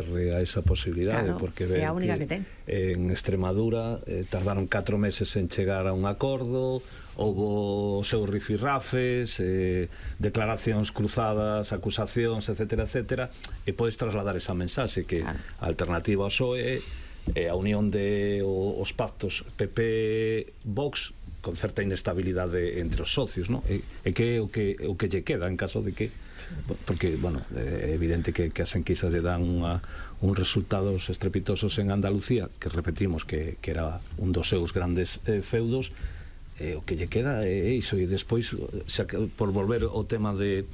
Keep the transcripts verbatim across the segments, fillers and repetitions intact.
a esa posibilidade, claro, porque é a única que, que ten. En Extremadura eh, tardaron catro meses en chegar a un acordo, houbo os seus rifirrafes, eh, declaracións cruzadas, acusacións, etcétera, etcétera, e podes trasladar esa mensaxe que claro. A alternativa ao P S O E é a unión de o, os pactos P P-Vox con certa inestabilidade entre os socios, non? E, e que é o que, o que lle queda en caso de que... Porque, bueno, é evidente que, que as enquisas lle dan unha, uns resultados estrepitosos en Andalucía, que repetimos que, que era un dos seus grandes eh, feudos, e o que lle queda é iso, e despois, xa, por volver ao tema de...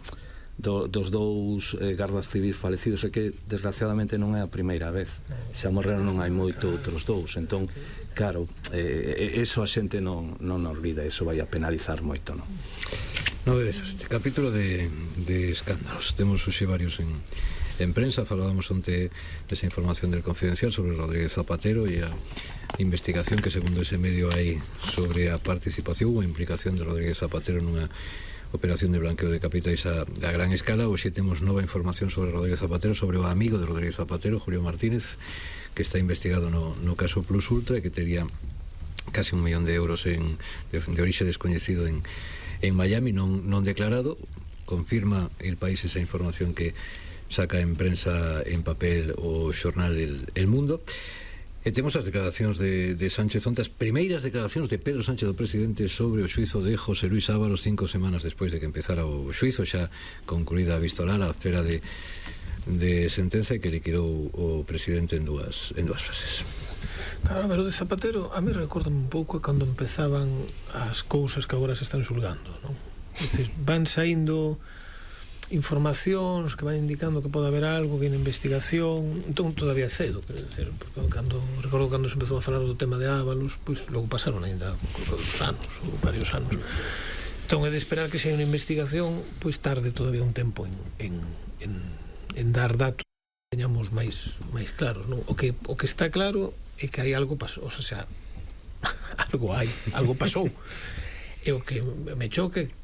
Do, dos dous eh, gardas civis falecidos, é que desgraciadamente non é a primeira vez, xa morreron non hai moito outros dous, entón claro, eh, eso a xente non, non olvida, eso vai a penalizar moito, non? Nove desas, este capítulo de, de escándalos temos hoxe varios en, en prensa. Falábamos onte desa información del Confidencial sobre Rodríguez Zapatero e a investigación que segundo ese medio hai sobre a participación ou a implicación de Rodríguez Zapatero nunha operación de blanqueo de capitais a, a gran escala. Hoxe temos nova información sobre Rodríguez Zapatero, sobre o amigo de Rodríguez Zapatero, Julio Martínez, que está investigado no, no caso Plus Ultra e que tería casi un millón de euros en, de, de orixe descoñecido en, en Miami, non, non declarado. Confirma El País esa información que saca en prensa en papel o xornal El, El Mundo. E temos as declaracións de, de Sánchez onte, as primeiras declaracións de Pedro Sánchez, do presidente, sobre o xuizo de José Luis Ábalos cinco semanas despois de que empezara o xuizo, xa concluída a vista oral, a espera de, de sentenza que liquidou o presidente en dúas, en dúas frases. Claro, pero de Zapatero a mí recorda un pouco cando empezaban as cousas que agora se están xulgando, non? É dicir, van saindo informacións que van indicando que pode haber algo, que hai investigación, entón todavía é cedo, quero dizer, porque cando, recordo cando se empezou a falar do tema de Ábalos, pois logo pasaron ainda dos anos, ou varios anos, entón é de esperar que se hai unha investigación, pois tarde todavía un tempo en, en, en, en dar datos que teñamos máis, máis claros, non? O que, o que está claro é que hai algo pasou, o sea, algo hai, algo pasou, e o que me choque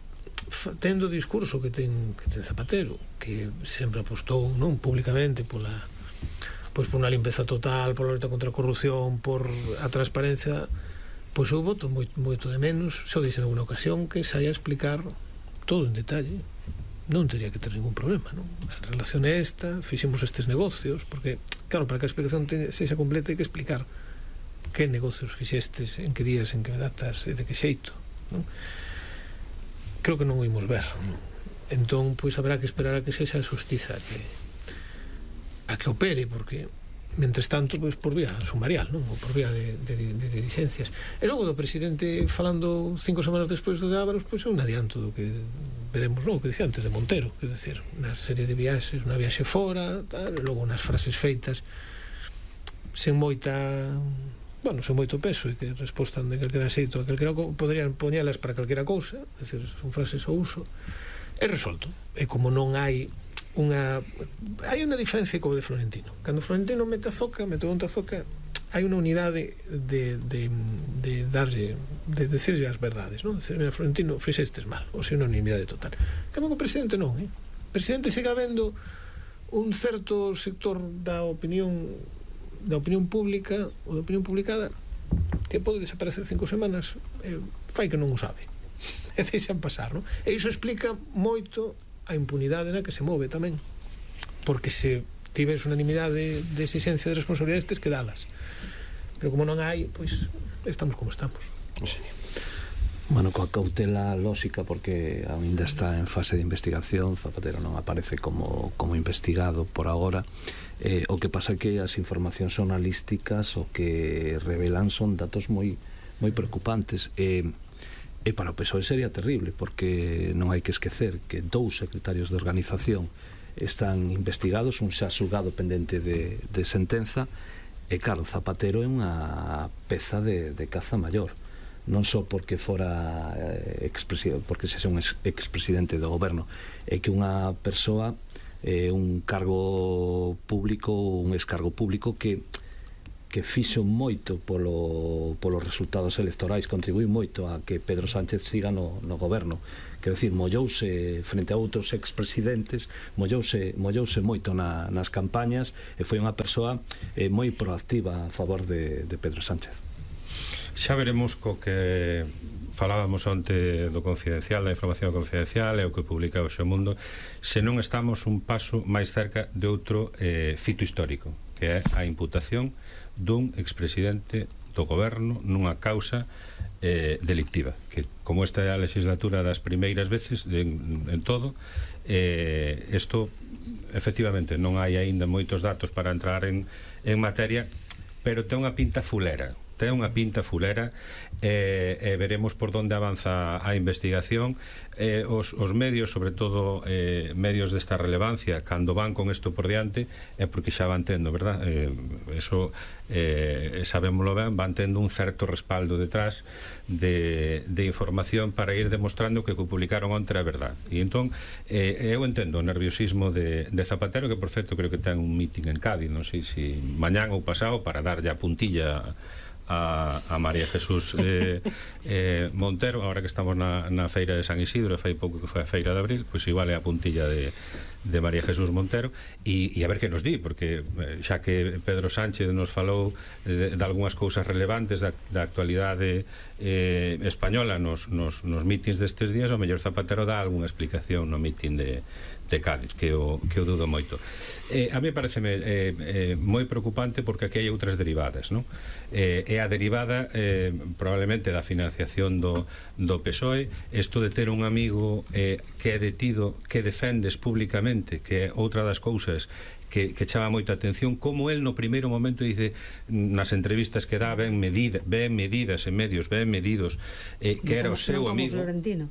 tendo o discurso que ten, que ten Zapatero, que sempre apostou, non, públicamente pola, pois por unha limpeza total, pola loita contra a corrupción, por a transparencia, pois eu voto moito, moito de menos, se o dixen en alguna ocasión, que saia a explicar todo en detalle. Non teria que ter ningún problema, non? A relación é esta, fixemos estes negocios, porque, claro, para que a explicación sexa completa hai que explicar que negocios fixestes, en que días, en que datas, e de que xeito, non? Creo que non o imos ver. Entón, pois haberá que esperar a que sexa a xustiza que a que opere, porque mentres tanto, pois por vía sumarial, non? Ou por vía de, de, de diligencias. E logo do presidente falando cinco semanas despois do de Ábalos, pois é un adianto do que veremos, non? O que dicía antes de Montero, quer dizer, unha serie de viaxes, unha viaxe fora, tal, e logo unhas frases feitas sen moita... bueno, sen moito peso e que respostan de calquera xeito a calquera cousa, poderían poñelas para calquera cousa, é dicir, son frases ao uso, é resolto. E como non hai unha... hai unha diferencia co de Florentino. Cando Florentino mete a zoca, mete onta a zoca, hai unha unidade de, de, de darlle, de decirlle as verdades, non? Decir, mira, Florentino, fixestes mal, ou se unha unanimidade total. Cando o presidente non, eh? O presidente siga vendo un certo sector da opinión da opinión pública ou da opinión publicada que pode desaparecer cinco semanas, eh, fai que non o sabe e deixan pasar, non? E iso explica moito a impunidade na que se move tamén, porque se tives unanimidade de exigencia de responsabilidades tes que dalas, pero como non hai, pois estamos como estamos. Sí. Bueno, coa cautela lóxica, porque ainda está en fase de investigación, Zapatero non aparece como, como investigado por agora. Eh, o que pasa é que as informacións xornalísticas o que revelan son datos moi moi preocupantes, e, e para o P S O E sería terrible, porque non hai que esquecer que dous secretarios de organización están investigados, un xa xulgado pendente de, de sentenza, e claro, Zapatero é unha peza de, de caza maior, non só porque fora eh, expresidente, porque se xa un expresidente do goberno, é que unha persoa, eh, un cargo público, un excargo público que que fixo moito polo, polos resultados electorais, contribuí moito a que Pedro Sánchez siga no, no goberno. Quero dicir, mollouse frente a outros expresidentes, mollouse, mollouse moito na, nas campañas e foi unha persoa eh, moi proactiva a favor de, de Pedro Sánchez. Xa veremos co que falábamos onte do confidencial, da información confidencial e o que publica hoxe o Mundo, se non estamos un paso máis cerca de outro eh, fito histórico, que é a imputación dun expresidente do goberno nunha causa eh, delictiva, que como esta é a legislatura das primeiras veces de, en, en todo, eh, isto efectivamente non hai aínda moitos datos para entrar en, en materia, pero ten unha pinta fulera, ten unha pinta fulera e, e veremos por onde avanza a investigación. Eh, os, os medios, sobre todo eh, medios desta relevancia, cando van con isto por diante é porque xa van tendo, verdad? Eh, eso eh, sabémoslo ben, van tendo un certo respaldo detrás de, de información para ir demostrando que o que publicaron onte é verdad. E entón, eh, eu entendo o nerviosismo de, de Zapatero, que por certo creo que ten un meeting en Cádiz, non sei se mañán ou pasado, para darlle a puntilla a, a María Jesús eh, eh, Montero, agora que estamos na, na feira de San Isidro, fai pouco que foi a feira de abril, pois igual é a puntilla de, de María Jesús Montero, e, e a ver que nos di, porque eh, xa que Pedro Sánchez nos falou de, de algunhas cousas relevantes da, da actualidade eh, española nos, nos, nos mítins destes días, o mellor Zapatero dá algunha explicación no mítin de de Cádiz, que o, que o dudo moito. Eh, a mí pareceme eh, eh, moi preocupante, porque aquí hai outras derivadas, non? Eh, é a derivada eh, probablemente da financiación do, do P S O E, isto de ter un amigo eh, que é detido, que defendes públicamente, que é outra das cousas que, que chama moita atención, como el no primeiro momento dice nas entrevistas que dá, ben, medida, ben medidas en medios, ben medidos, eh, que era o seu amigo,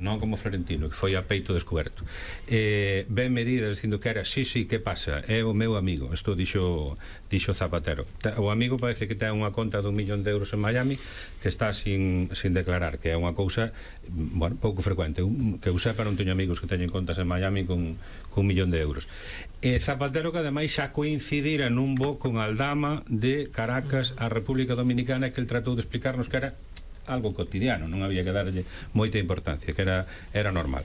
non como Florentino, que foi a peito descoberto, eh, ben medidas dicindo que era, sí, sí, que pasa, é o meu amigo. Isto dixo, dixo Zapatero. O amigo parece que ten unha conta dun millón de euros en Miami que está sin, sin declarar, que é unha cousa, bueno, pouco frecuente. Que eu sepa, non teño amigos que teñen contas en Miami con, con un millón de euros. E Zapatero, que ademais xa coincidira nun voo con Aldama de Caracas a República Dominicana, que el tratou de explicarnos que era algo cotidiano, non había que darlle moita importancia, que era, era normal.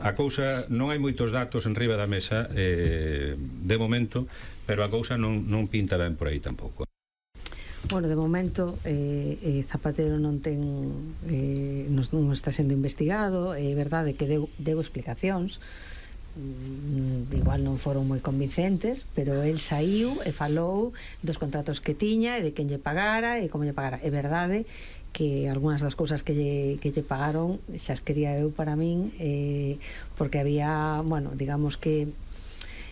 A cousa, non hai moitos datos en riba da mesa eh, de momento, pero a cousa non, non pinta ben por aí tampouco. Bueno, de momento eh, eh, Zapatero non ten eh, non, non está sendo investigado. É verdade que deu, deu explicacións, mm, igual non foron moi convincentes, pero el saiu e falou dos contratos que tiña e de quen lle pagara e como lle pagara. É verdade que algunhas das cousas que lle, que lle pagaron xa as quería eu para min, eh, porque había, bueno, digamos que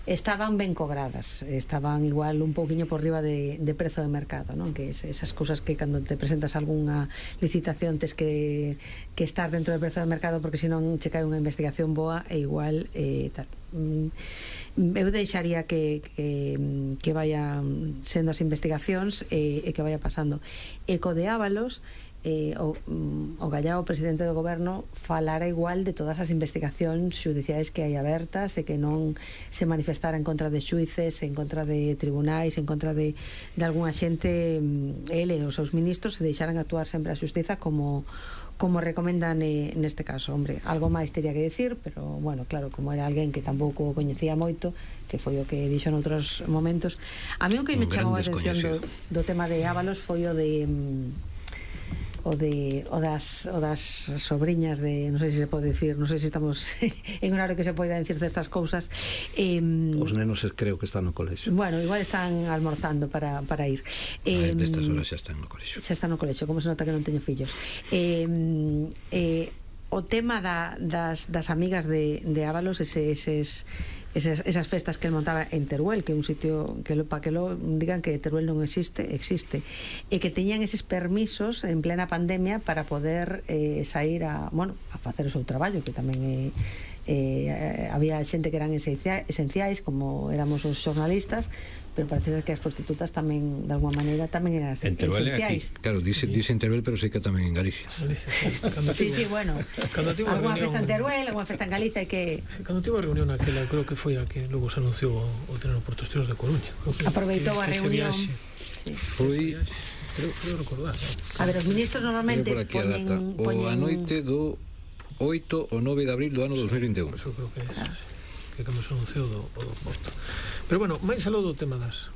estaban ben cobradas, estaban igual un pouquiño por riba de, de prezo de mercado, non? Que es, esas cousas que cando te presentas algunha licitación tes que, que estar dentro do prezo de mercado, porque senón che cae unha investigación boa e igual eh, tal. Eu deixaría que, que, que vayan sendo as investigacións e, e que vaya pasando. Eco de Ábalos, eh, o, o Gallao, presidente do goberno, falara igual de todas as investigacións xudiciais que hai abertas e que non se manifestara en contra de xuíces, en contra de tribunais, en contra de, de algunha xente, ele e os seus ministros, se deixaran actuar sempre a xustiza como como recomendan eh, neste caso. Hombre, algo máis teria que decir, pero bueno, claro, como era alguén que tampouco coñecía moito, que foi o que dixo noutros momentos. A mí o que me chamou a atención do, do tema de Ábalos foi o de o de o das, o das sobriñas de, non sei se se pode decir, non sei se estamos en un horario que se poida decir destas cousas. eh, Os nenos creo que están no colexo. Bueno, igual están almorzando para, para ir. eh, Destas horas xa están no colexo. Xa están no colexo, como se nota que non teño fillos. eh, eh, O tema da, das, das amigas de, de Ábalos, ese, eses, esas, esas festas que el montaba en Teruel, que é un sitio que lo, para que lo digan que Teruel non existe, existe, e que teñan eses permisos en plena pandemia para poder eh, sair a, bueno, a facer o seu traballo, que tamén é eh, había xente que eran esenciais, como éramos os xornalistas, pero parece que as prostitutas tamén, de alguma maneira, tamén eran esenciais. Claro, dice, dice en Teruel, pero sei que tamén en Galicia. Galicia, sí, sí, sí, bueno. Alguna festa en Teruel, alguna festa en Galicia, que... Sí, cando tivo a reunión aquela, creo que foi a que logo se anunciou o, o tener os portosteros de Coruña. Aproveitou a reunión. Sí, sí. Foi Creo, creo recordar, ¿no? A ver, os ministros normalmente por aquí a poñen, data. O poñen... a noite do oito ou nove de abril do ano dos mil vinte e un. Eso creo que é, que cando se anunciou do, o do voto. Pero bueno, máis aló do tema das